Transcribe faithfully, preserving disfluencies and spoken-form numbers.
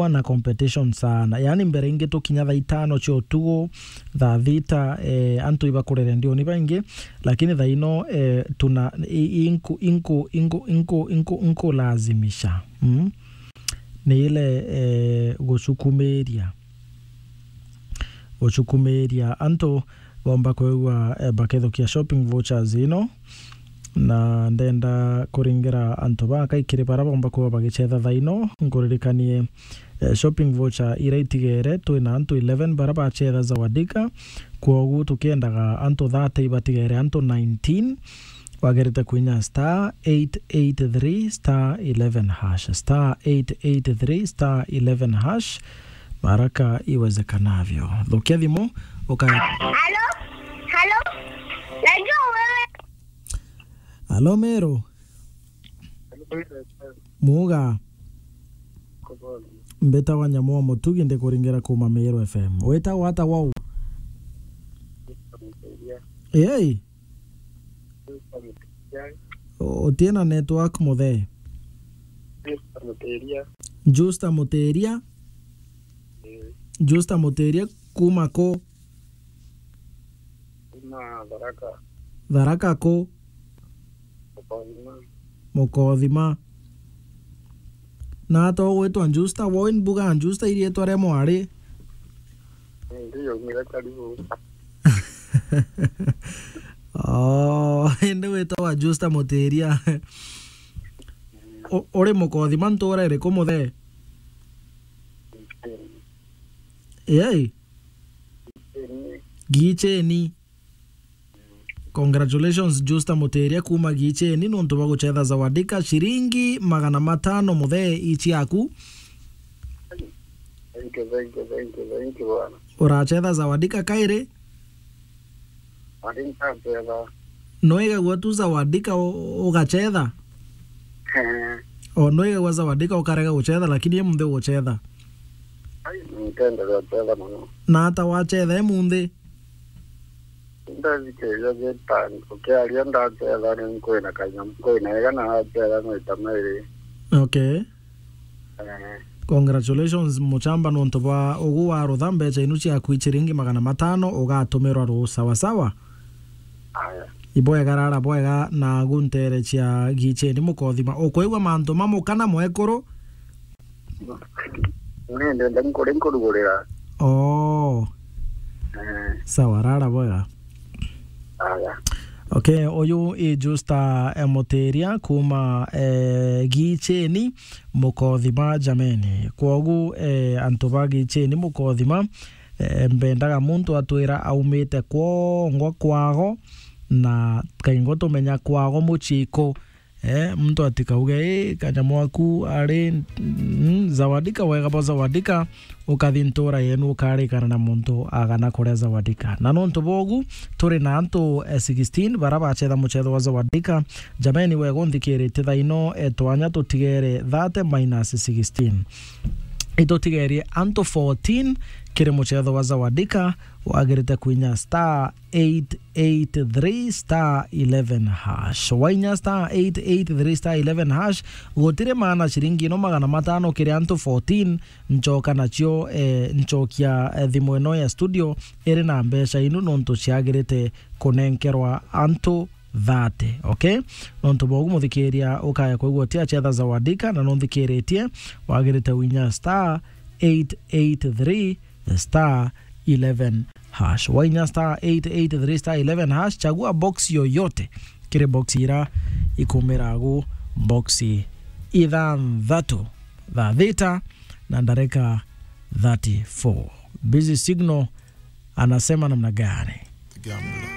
na competition sana. Yaani mbere ingi tukinya thaa itano cia utugu, thaa thita, eh, antu ibakurere ndioni baingi, lakini thaa ino, eh, tuna, i-, inku-, inku-, inku-, inku-, inku-, inkulazimisha. Mm? Ni ile, eh, gucukumiria. Gucukumiria antu bomba kwigua, eh, bakethukia shopping vouchers ino. Na ndenda kuringira antu bakaikiri bara bomba kwigua bagichetha thaa ino. Nkuririkanie, eh, shopping voucher ira itigere, twina antu eleven bara bachetha Zawadika. Kwogu tukiendaga antu thirty ibatigere antu nineteen. Wagerete kuinya star eight eight three star eleven hash, star eight eight three star eleven hash, haraka iwezekanavyo. Thukia thimu, uka- Halo? Halo? Najua wewe. Halo, Meru. Muga. Mbitagwa Nyamu wa Mutugi, ndikuringira kuma Meru F M. Witagwa ata wau? Ei? O-, utina network, muthee. Justa Mutiria. Justa Mutiria? Ii. Justa Mutiria kuma ku? Kuma Tharaka. Tharaka ku? Mukothima. Mukothima. Na ata ugwitwa Justa, woi mbuga Justa iriitwa ria mwari? Ndio, mira karibu. Oh, indi witagwa Justa Mutiria. U-, uri Mukothima ntura iriku, muthee? Ei? Gicheni. Congratulations, Justa Mutiria kuma Gicheni, nontu bwa guchetha Zawadika, ciringi magana matano, muthee, ici yaku. Thank you, thank you, thank you, thank you, bwana. Urachetha Zawadika kairi? Ari ntachetha. Noigagua tu Zawadika u-, ugachetha? Eh. O, noigagua Zawadika ukarega guchetha, lakini emunthi uguchetha? Ai, nkenderea guchetha muno. Na ata wachetha emunthi? Ndathikiriria gita, ukiaria ndachetha, ni nkwina kanyamu, nkwina ega na achetha maita mairi. Okay. Eh. Congratulations, muchamba, nontu bwa ugu warutha mbecha inu ciaku ciringi magana matano, ugatumirwa ru sawa sawa. Aya. Ibwega, rara bwega, na guntere cia Gicheni Mukothima. Ukwigua mantu mamu kana mwekuru? Ni ndenda nkuri nkurugurira. Oh. Eh. Sawa, rara bwega. Aya. Okay, uyu i Justa, eh, Mutiria kuma, eh, Gicheni Mukothima, jameni. Kwogu, eh, antu ba Gicheni Mukothima, eh, mbendaga muntu atwira aumite kwongwa kwago, na kaingo tumenya kwago muchiko. Eh, muntu atikauge, "Ii, kanyamu aku ari, mm, Zawadika, wega bwa Zawadika, ukathi ntura yenu ukarikana na muntu agana kuria Zawadika." Na nontu bogu, turi na antu, eh, sixteen bara bachetha muchetho wa Zawadika. Jameni, wega unthikiritie thaa ino, eh, twanya tutigere thirty minus sixteen. Itutigerie antu fourteen kiri muchetho wa Zawadika, wagirite kwinya star eight eight three star eleven hash. Wainya star eight eight three star eleven hash, gutiri maana ciringi ino magana matano kiri antu fourteen, nchoka nacio, eh, nchokia, eh, thimu ino ya studio iri na mbeca inu nontu ciagirite kunenkerwa antu thirty, okay? Nontu bogu muthikiria ukaya kwigua uti achetha Zawadika na nunthikiritie, wagirite winya star eight eight three star eleven hash. Wainya star eight eight three star eleven hash, chagua box yoyote kiri box ira ikumiragu box ithanthatu, thaa thita na ndareka thirty-four. Busy Signal anasema namna gani? The gambler.